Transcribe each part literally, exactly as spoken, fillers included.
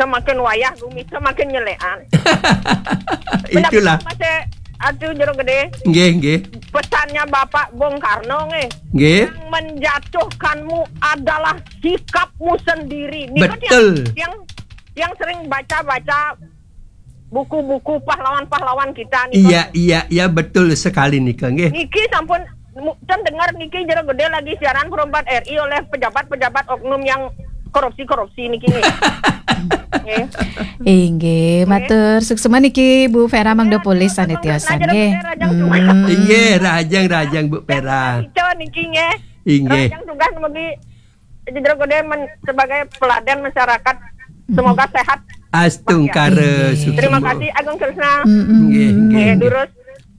semakin wayah gumi semakin nyelean. Itulah. Masih atuh jero gede. Nggih, nggih. Pesannya Bapak Bung Karno nggih. Nggih. Yang menjatuhkanmu adalah sikapmu sendiri. Niku betul. Yang, yang, yang sering baca-baca buku-buku pahlawan-pahlawan kita nih. Iya, iya, iya, betul sekali nih, Kang. Nggih. Niki sampun mu- kan dengar niki jero gede lagi siaran Pro empat R I oleh pejabat-pejabat oknum yang korupsi-korupsi niki nggih. Nggih. Inggih, matur suksema niki Bu Vera mangda polih sané tiosan nggih. Hmm. Inggih, rahajeng rahajeng Bu Vera. Ica niki nggih. Inggih. Rahajeng tugas mugi jero gede men- sebagai peladan masyarakat. Semoga sehat. Astungkara suksema. Terima kasih Agung Kresna. Nggih, nggih. Nggih, durus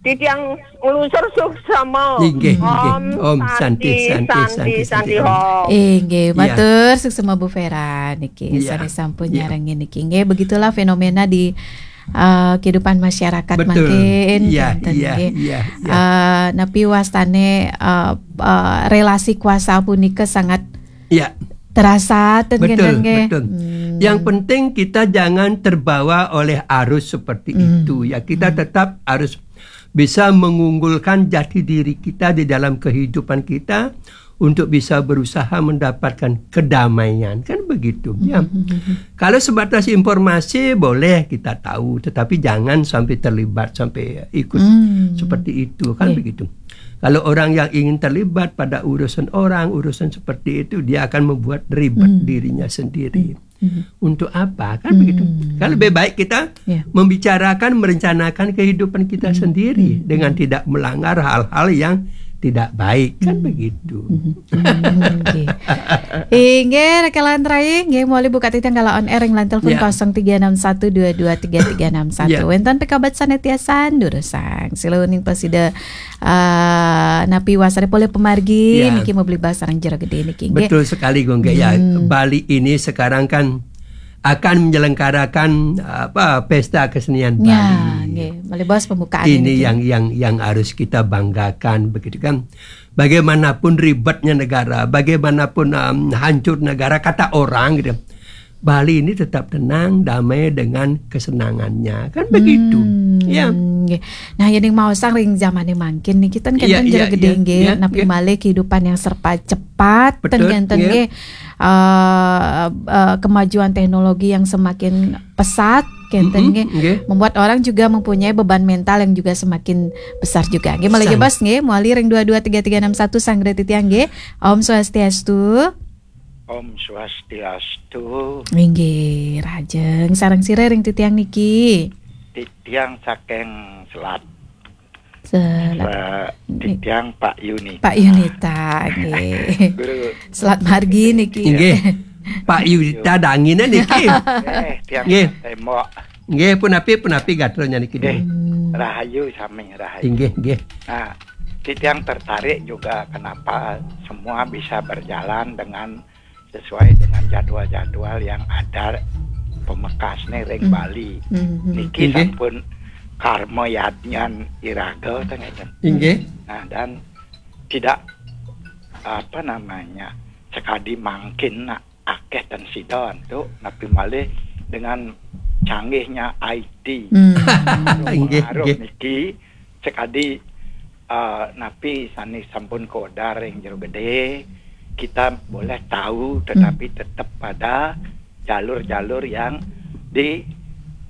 titiang nglusur suksema. Inggih, inggih. Om Santi, Santi, Santi, Santi, Om. Inggih, matur suksema Bu Vera niki sané sampun nyarengin niki. Nggih, begitulah fenomena di eh, kehidupan masyarakat mangkin. Betul. Iya, iya, iya. Eh, napi wastané eh, eh, relasi kuasa punika sangat terasa ten betul, nggih. Betul. Yang penting kita jangan terbawa oleh arus seperti itu ya. Kita tetap harus bisa mengunggulkan jati diri kita di dalam kehidupan kita untuk bisa berusaha mendapatkan kedamaian, kan begitu ya. Kalau sebatas informasi boleh kita tahu, tetapi jangan sampai terlibat sampai ikut seperti itu, kan begitu. Kalau orang yang ingin terlibat pada urusan orang, urusan seperti itu, dia akan membuat ribet dirinya sendiri. Untuk apa, kan begitu? Kan lebih baik kita membicarakan, merencanakan kehidupan kita sendiri dengan tidak melanggar hal-hal yang tidak baik, kan begitu. Inggih, Raka Lantrai, inggih, muli buka titiang kala on air ring line telepon kosong tiga enam satu dua dua tiga tiga enam satu. Wénten pikabat sané tiosan durusang. Sila uning pasida eh, napi wastané polih pamargi niki mabli bas sareng jero gede niki nggih. Betul sekali, Gung, ya. Bali ini sekarang kan akan menyelenggarakan apa pesta kesenian Bali. Ya, nggih. Mabli bas pembukaan ini niki yang yang yang harus kita banggakan begitu kan. Bagaimanapun ribetnya negara, bagaimanapun em, hancur negara kata orang gitu. Bali ini tetap tenang, damai dengan kesenangannya. Kan begitu. Ya. Nggih. Nah, yen ing maosang ring zamane mangkin niki ten kenten jero gede nggih, napi malih kehidupan yang serba cepat ten kenten nggih. Eh, eh, kemajuan teknologi yang semakin pesat kenten nggih. Membuat orang juga mempunyai beban mental yang juga semakin besar juga. Nggih, malih bas nggih, mawali ring dua dua tiga tiga enam satu sanggra titiang nggih. Om Swastiastu. Om Swastiastu. Inggih, rahajeng sareng sira ring titiang niki. Titiang saking Selat. Selat. Eh, titiang Pak Yunita. Pak Yunita, nggih. Guru. Selat margi niki. Inggih. Pak Yunita dangine niki. Eh, tiang tembok. Nggih, punapi, punapi gatranya niki. Nggih. Rahayu sami, rahayu. Inggih, nggih. Nah, titiang tertarik juga kenapa semua bisa berjalan dengan sesuai dengan jadwal-jadwal yang ada pemekasne ring Bali. Niki sampun karma yadnyan iraga ten ngeten. Inggih. Nah, dan tidak apa namanya sekadi mangkin nak akeh ten sida antuk napi malih dengan canggihnya I T. Inggih, pengaruh niki sekadi eh, napi sane sampun kodar ring jero gede, kita boleh tahu tetapi tetap pada jalur-jalur yang di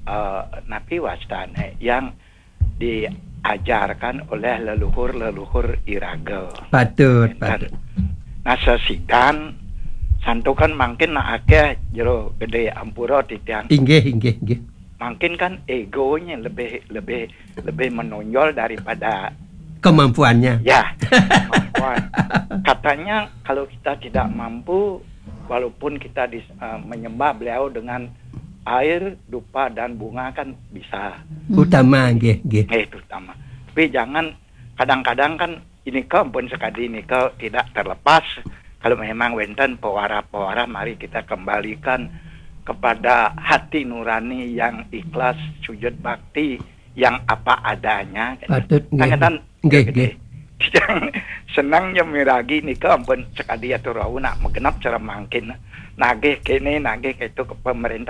eh, napi wastane yang diajarkan oleh leluhur-leluhur iraga. Patut, patut. Nah, sesidan santukan mangkin nak akeh jero gede ampura titiang. Inggih, inggih, inggih. Mangkin kan egonya lebih lebih lebih menonjol daripada kemampuannya. Ya, kemampuan. Katanya kalau kita tidak mampu, walaupun kita dis, uh, menyembah beliau dengan air, dupa dan bunga kan bisa. Utama, nggih, nggih. Eh, itu utama. Tapi jangan kadang-kadang kan ini pun sekali ini tidak terlepas kalau memang wenten pewara-pewara mari kita kembalikan kepada hati nurani yang ikhlas sujud bakti yang apa adanya. Patut nggih. Nggih, nggih. Yang senang yang miragi nika ampun sekali atur wau nak magenep cara mangkin nagih kene nagih ketu ke pemerintah